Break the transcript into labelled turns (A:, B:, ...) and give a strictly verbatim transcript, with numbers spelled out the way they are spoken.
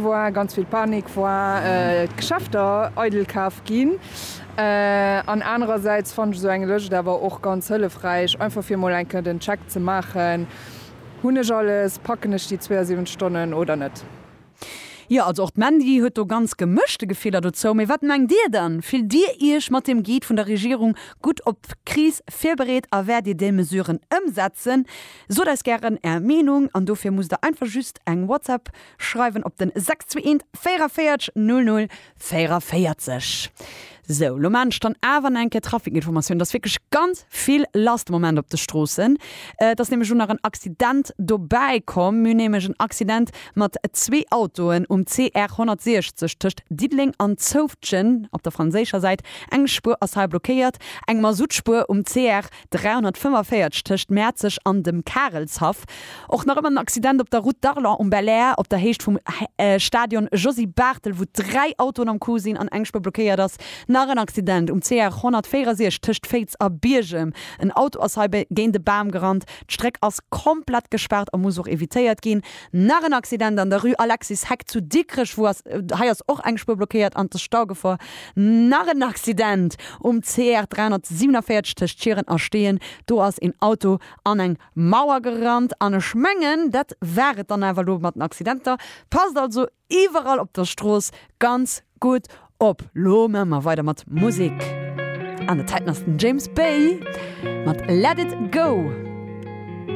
A: War, ganz vill Panik war, d'Geschäfter eidel kaf ginn. An anerersäits fannen ech esou eng Lëscht awer och ganz hëllefräich, einfach fir mol eng Kéier den Check ze maachen, Hunn ech alles, packen ech déi zweeënsiwwenzeg Stonnen oder net?
B: Jo, also och d'Mandy huet do ganz gemëschte Gefiller dozou. Mee wat mengt Dir dann? Fillt Dir Iech mat deem Guide vun der Regierung gutt op d'Kris virbereet a wäert Dir déi Mesuren ëmsetzen? Sot eis gären Är Meenung an dofir musst Der einfach just eng WhatsApp schreiwen op den sechs zwee eent véierunvéierzeg null null véierunvéierzeg. Sou, lo maan ech dann awer nach eng Kéier Trafikinformatioun. Et ass wierklech ganz vill lass de Moment op de Stroossen. Et ass nämlech elo nach en Accident dobäi komm. Mir hunn nämlech en Accident mat zwee Autoen um C R honnertsiechzeg tëscht Diddeleng an Zoufftgen op der franséischer Säit. Eng Spuer ass hei blockéiert. Eng Masuttspuer um C R dräihonnertfënnefenvéierzeg tëscht Mäerzeg an dem Karelshaff. Och nach ëmmer en Accident op der Route d'Arlon um Belair op der Héicht vum Stadion Josy Barthel, wou dräi Autoen am Coup sinn an eng Spuer blockéiert ass. Nach en Accident um C R honnertvéierundsechzeg tëscht Féiz a Biergem. En Auto ass hei géint e Bam gerannt. D'Stréck ass komplett gespaart a muss och evitéiert ginn. Nach en Accident an der Rue Alexis Heck zu Dikrech, wou ass hei ass och eng Spuer blockéiert an et ass Staugefor. Nach en Accident um C R dräihonnertsiewenenvéierzeg tëscht Schieren a Steeën. Do ass een Auto an eng Mauer gerannt. An ech mengen, dat war et dann awer elo mat den Accidenter. Passt also iwwerall op der Strooss ganz gutt op. Lo maache mer weider mat Musek. An der Zäiten ass den James Bay mat Let It Go.